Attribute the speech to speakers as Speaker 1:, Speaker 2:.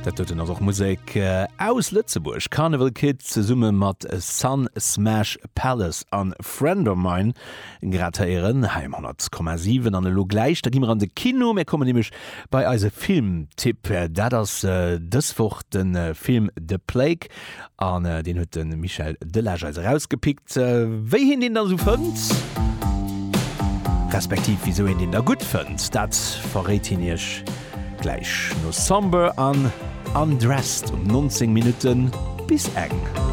Speaker 1: Dat doten ass och Musek aus Lëtzebuerg, Carnival Kid zesumme mat Sun Smash Palace an Friend of Mine grad héieren hei um 100,7. An elo gläich, da gi mer an de Kino, mir kommen nämlech bei eise Filmtipp. Dat ass dës Woch de Film The Plague An deen huet de Michel Delage eis erausgepickt. Wéi hien deen da sou fënnt, respektiv wisou hien deen da gutt fënnt, dat verréit hien iech gläich no Somber an Undressed um 19 Minutte bis eng.